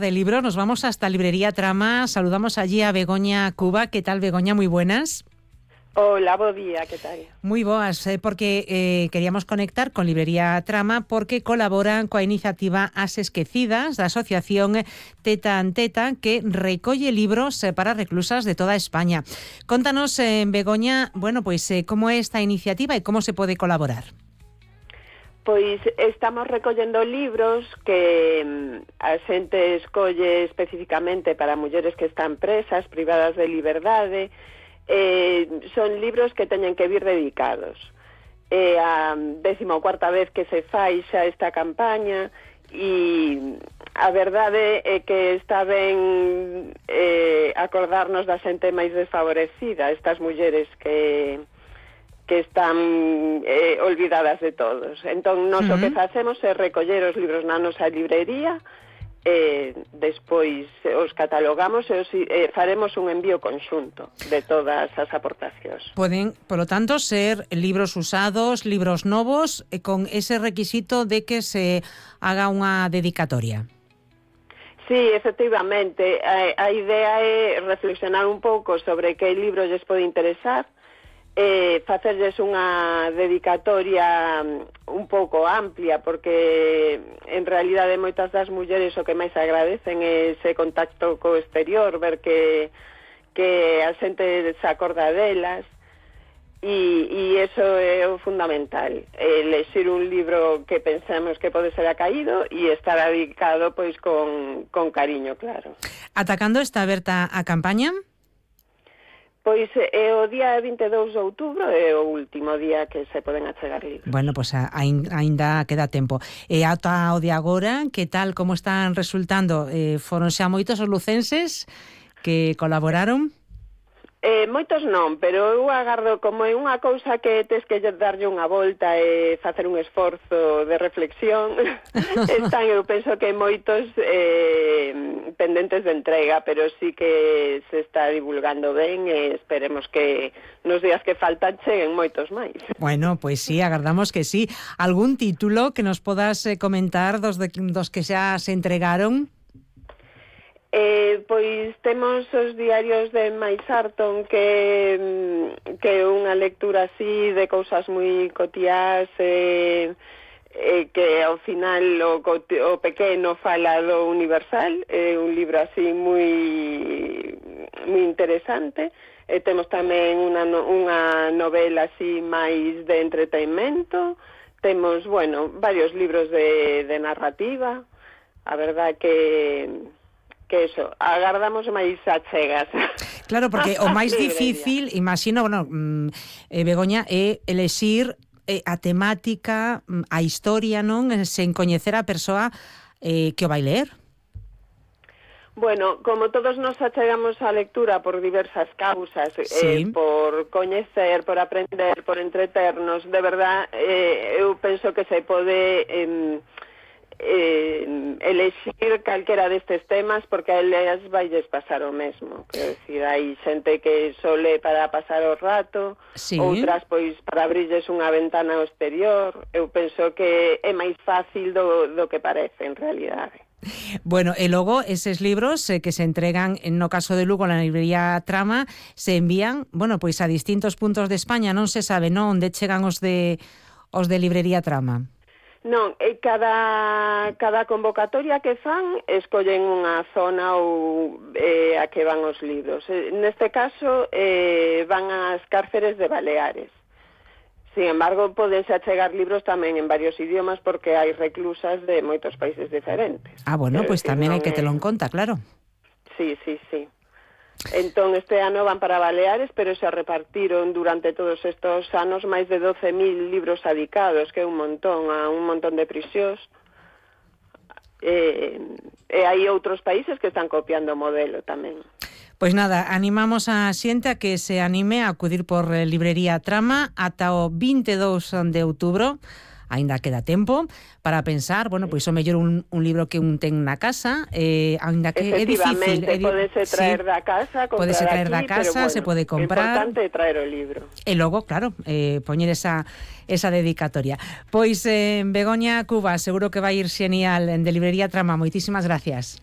De libros, nos vamos hasta Librería Trama. Saludamos allí a Begoña Cuba. ¿Qué tal, Begoña? Muy buenas. Hola, bo día, que tal? Moi boas, porque queríamos conectar con Librería Trama porque colaboran coa iniciativa As Esquecidas da Asociación Teta en Teta, que recolle libros para reclusas de toda España. Contanos, Begoña, bueno, pois como é esta iniciativa e como se pode colaborar. Pois estamos recollendo libros que a xente escolle especificamente para mulleres que están presas, privadas de liberdade. Son libros que teñen que vir dedicados. A 14ª vez que se fai xa esta campaña e a verdade é que está ben acordarnos da xente máis desfavorecida, estas mulleres que están olvidadas de todos. Entón, nós o que facemos é recoller os libros na nosa librería, despois os catalogamos e faremos un envío conxunto de todas as aportacións. Poden, polo tanto, ser libros usados, libros novos, con ese requisito de que se haga unha dedicatoria. Sí, efectivamente. A idea é reflexionar un pouco sobre que libro lles pode interesar, facerlles unha dedicatoria un pouco amplia, porque en realidade moitas das mulleres o que máis agradecen é ese contacto co exterior, ver que a xente se acorda delas, e iso é o fundamental, lexir un libro que pensamos que pode ser acaído e estar dedicado pois con cariño, claro. Ata cando está aberta a campaña? Pois o día 22 de outubro é o último día que se poden achegar libros. Bueno, pois aínda queda tempo. E ata o de agora, que tal, como están resultando? Foron xa moitos os lucenses que colaboraron? Moitos non, pero eu agardo, como é unha cousa que tes que darlle unha volta e facer un esforzo de reflexión, están, eu penso que moitos pendentes de entrega, pero sí que se está divulgando ben e esperemos que nos días que faltan cheguen moitos máis. Bueno, pois sí, agardamos que sí. Algún título que nos podas comentar dos que xa se entregaron? Pois temos os diarios de Mais Sarton, que é unha lectura así de cousas moi cotiás, que ao final o pequeno fala do universal, é un libro así moi interesante. Temos tamén unha novela así máis de entretenimento. Temos, bueno, varios libros de narrativa. A verdad que eso, agardamos máis achegas. Claro, porque o máis difícil, imagino, bueno, Begoña, é elexir a temática, a historia, non? Sen coñecer a persoa que o vai ler. Bueno, como todos nos achegamos á lectura por diversas causas, sí, por coñecer, por aprender, por entreternos, de verdad, eu penso que se pode elexir calquera destes temas, porque a elas vailles pasar o mesmo. Quero dicir, hai xente que sole para pasar o rato, sí, outras pois para abrirles unha ventana ao exterior. Eu penso que é máis fácil do que parece en realidade. Bueno, e logo eses libros que se entregan, no caso de Lugo, na librería Trama, se envían, bueno, pois a distintos puntos de España. Non se sabe, non, onde chegan os de librería Trama. Non, cada convocatoria que fan escollen unha zona ou a que van os libros. Neste caso van ás cárceres de Baleares. Sin embargo, podense achegar libros tamén en varios idiomas, porque hai reclusas de moitos países diferentes. Ah, bueno, pois tamén hai que telo en conta, claro. Sí. Entón, este ano van para Baleares, pero se repartiron durante todos estos anos máis de 12.000 libros adicados, que é un montón, a un montón de prisións. E hai outros países que están copiando o modelo tamén. Pois nada, animamos a xente a que se anime a acudir por Librería Trama ata o 22 de outubro. Ainda queda tempo para pensar, bueno, pois o mellor un libro que un ten na casa, ainda que é difícil. Podese traer da casa, comprar aquí, bueno, se pode comprar. O importante é traer o libro. E logo, claro, poñer esa dedicatoria. Pois, Begoña Cuba, seguro que vai ir xenial en de Librería Trama. Moitísimas gracias.